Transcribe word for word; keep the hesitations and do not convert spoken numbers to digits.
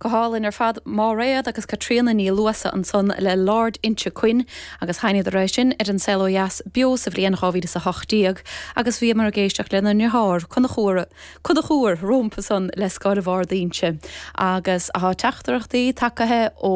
Go hálainn ar fad Máiréad agus Caitríona Ní Luasa ansan le Lord Inchiquin agus sheinneadar é sin ar an Saol Ó Dheas beo sa bhliain dhá mhíle is a hocht déag agus bhíomar ag éisteacht lena ndeartháir Conchúr Conchúr rompu san le Scairbh Ard Inse agus tá teachtaireachtaí tagtha ó